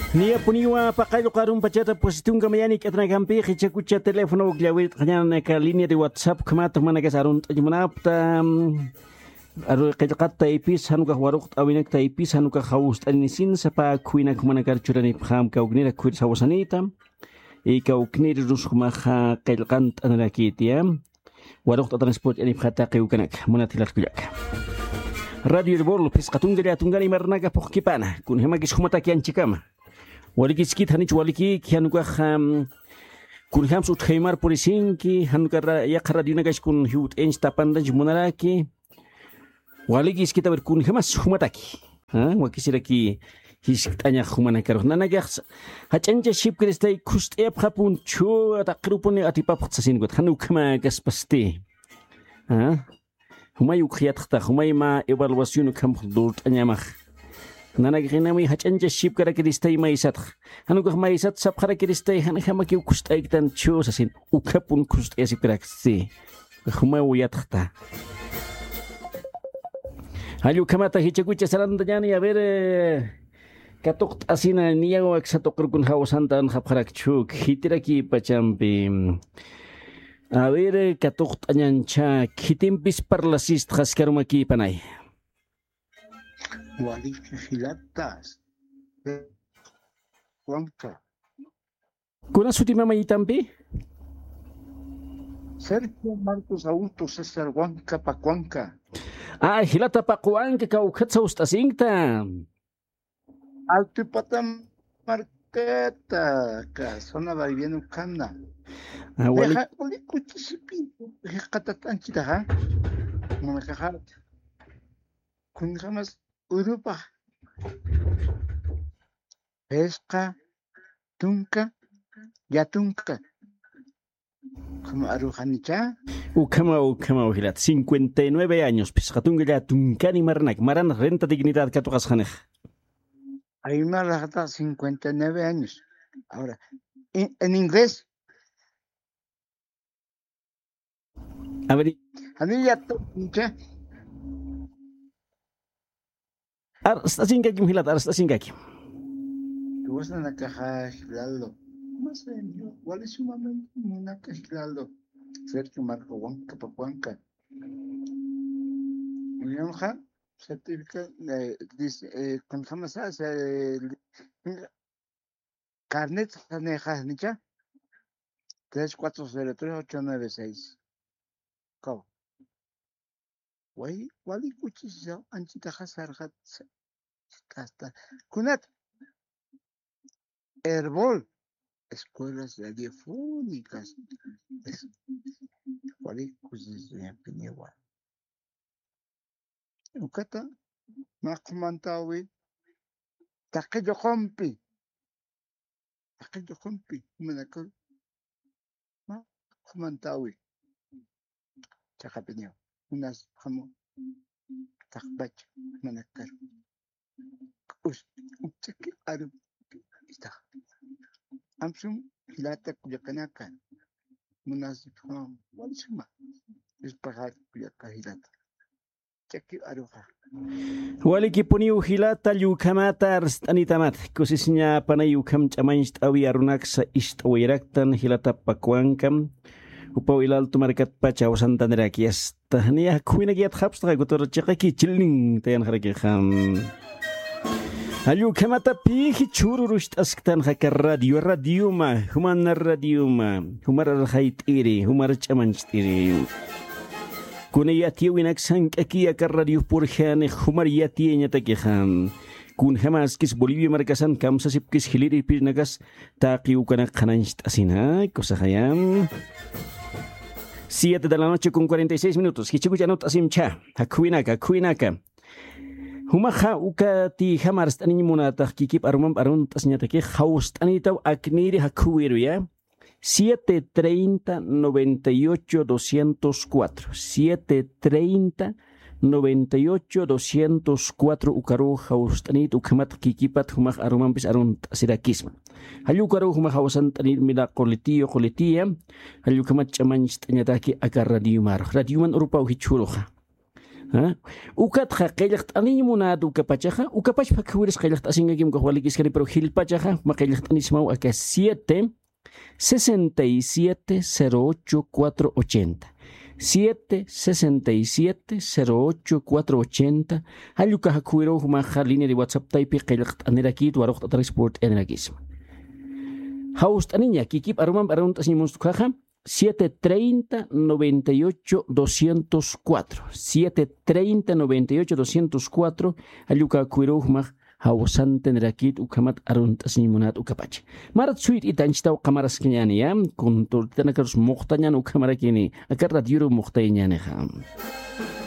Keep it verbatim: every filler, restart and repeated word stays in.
Niyapuniwa paqallqu arumpachata pusitunka mayanik atanakampi qichakucha teléfono ukllawirt'añanaka línea de WhatsApp ukhamat jumanakas arunt'añ munapta. Aru qillqat taypis janukax waruqt'awinak taypis janukax jawst'aninisin sapa khuwinak jumanakar churanipxam kawknir akhwir sawasanita. Y kawknir rusxmaxa qillqant'anirakitiya. Waruqt'atansput yanipxata qiwkanak munat jilatkullaka. Radio Herbol phisqa tunka llatunkani marnaka phuqkipana kunjamakis jumataki anchakama. Walikiskit janich walikiki janukaxa kunjams utjaymar purisinki januka yaqha radionakash kun jiwt'inch tapantanch munaraki. Walikiskit a ver kunjamas jumataki. Wakisiraki jiskt'añax jumanakarux nanakax jach'ancha shipkiristay khust'ayapxapun chhuwa taqirupuni atipapxta sasinkuta jan ukhama kaspasti. Jumay ukxayatxta jumay mä evaluación ukhamx durt'añamax. Nanakxinami jach'ancha shipkarakiristay maysatx jan ukax maysat sapxarakiristay janjamakiw khust'ayktan chhu sasin. Ukhapun khust'ayasipkiraksti. Jumaw yatxta. Jall ukhamata jichakucha sarantañani a ver. Katuqt'asina niyaw aksa tuqirukun jawsantan japxarakchu khitiraki pachampi. A ver katuqt'añancha khitimpis parlasistxa askarumakipanay. Walikijilatas. Juanka. Kuna sutimamayitampi? Sergio Marcos Augusto César Huanca Pacuanca. Ay jilata paquwanka kawkhat sawst'asinkta. Altipata markata ka zona vivienda ukana. Waliku chisipi. Jiqatat'anchitaxa. Munakaxat. Kunjamas urupa. Phisqa tunka llatunka. Ukhama aruxanicha. Ukhama ukhama ujilat cincuenta y nueve años phisqa tunka llatunkani marnak maran renta dignidad katuqasqanix. Aymar raqata cincuenta y nueve años. Ahora en inglés. A ver. Janilla tuqincha. Arst'asinkakim jilat arst'asinkakim. Tuwasanakaxa jilalo. Walisumamay munaka jilalo. Sergio Marco Huanca Pacuanca. Uñamxa certifica. Kunjamasa. Carnet janixanicha. Tres cuatro cero tres ocho nueve seis. Kaw. Wali wali kuchisa anchitaxa sarxat. Kasta kunat. Herbol. Escuelas radiofónicas. Wali kuchisa piniwa. Ukata maqhumantawi. Taqi lluqumpi. Taqi lluqumpi. Manakul maqhumantawi. Chaqapiniw. Unas jamu. Taqpach. Manakar. K'us. Ukchaki aru. Istax. Amsum jilata kullakanaka. Munasipxam walisuma. Ispaxar kullaka jilata. Chaki aruxa. Walikipuniw jilata llukhamata arst'anitamat kusisiñapanay ukham ch'amañcht'awi arunaksa ist'awayraktan jilata pakuwankam. Upaw ilaltu markatpacha awsantaniraki asta niya jakhuwinak yatxapstaxa kutur chiqaki chilnin tayanxarakixam. Allukhamata pixi chhururusht'asktanxaka radio radioma jumana radioma. Jumar arxayt'iri jumar ch'amancht'iri. Kuna yatiyäwinak sank'akiy aka radioj purjani jumar yatiyañatakixa. Kunjämaskis bolivia markasan kamsasipkis jiliripirinakas taqi ukanak qhanañcht'asina kusaxaya. Siete de la noche con cuarenta y seis minutos jichhakuch anut'asimcha. Jakhuwinaka jakhuwinaka. Jumaxa ukatïjam arst'aniñ munatax kikip arumamp arunt'asiñatakix jawst'anitaw aknïri jakhuwiruya. Siete treinta noventa y ocho doscientos cuatro siete treinta noventa y ocho doscientos cuatro ukaruw jawst'anït ukhamat kikipat jumax arumampis arunt'asirakisma. Jall ukaruw jumax jawsant'anït milaq qulitiyu qulitiya. Jall ukhamat ch'amañcht'añataki aka radiomarux radioman urupaw jichhüruxa. ¿Ah? Ukatxa qillqt'aniñ munat ukapachaxa, ukapachpa akhawiris qillqt'asinkakim ukax walikiskani, pero jilpachaxa mä qillqt'anismaw aka siete sesenta y siete cero ocho cuatro ochenta. Siete sesenta y siete cero ocho cuatro ochenta. Jall uka akhawiruw jumaxa línea de WhatsApp taypi qillqt'anirakit, waruqt'atarakis purt'anirakisma. Jawst'aniña kikip arumamp arunt'asiñ munst ukhaxa, siete treinta noventa y ocho doscientos cuatro. Siete treinta noventa y ocho doscientos cuatro. Jall uka akhawiruw jumax jawsantanirakit ukhamat arunt'asiñ munat ukapacha. Marat suyt'ita anchitaw qamaraskiñäni, ya. Kunturtitanakarus muxtañän ukhamarakini. Aka radioru muxtayañänixa.